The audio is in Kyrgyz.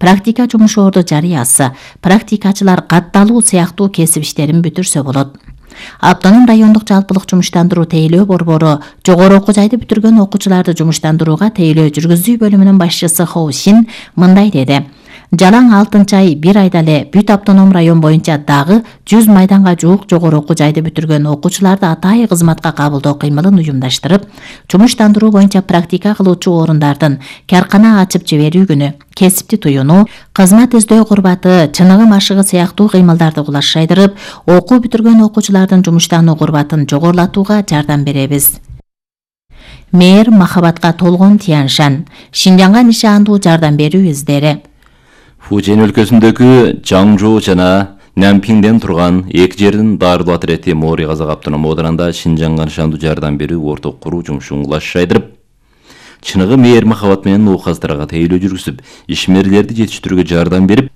практика жумуш орду жарыясы, практикачылар катталуу сыяктуу кесип иштерин бүтүрсө болот. Автоном райондук жалпылык жумуштандыруу тейлөө борбору жогору окуу жайды бүтүргөн окуучуларды жумуштандырууга тейлөө жүргүзүү бөлүмүнүн башчысы Хо Шин мындай деди. Жалаң 6-ай 1 айда эле бүт автоном район боюнча дагы 100 майданга жуук жогору окуу жайды бүтүргөн окуучуларды атайы кызматка кабылдоо кыймылын уюмдаштырып, жумуштандыруу боюнча практика кылуучу орундардын каркана ачып жиберүү күнү, кесипти туюнуу, кызмат издөө курбаты, чыныгы машыгы сыяктуу кыймылдарды кулашайдырып, окуу бүтүргөн окуучулардын жумуштануу курбатын жогорулатууга жардам беребиз. Мэр махабатка толгон Тяншан, Шинжаңга нишандуу жардам берүү издери. Фужен өлкөсүндөгү Жаңжоо жана Нямпиңден турган эки жердин дарылуу отряди Мори Казак автоном оодарында Шинжаңга нишандуу жардам берүү орток куруу жумушун кулашайдырып, чыныгы мээр махабат менен указдарды тейлөө жүргүзүп, ишмерлерди жетиштирүүгө жардам берип,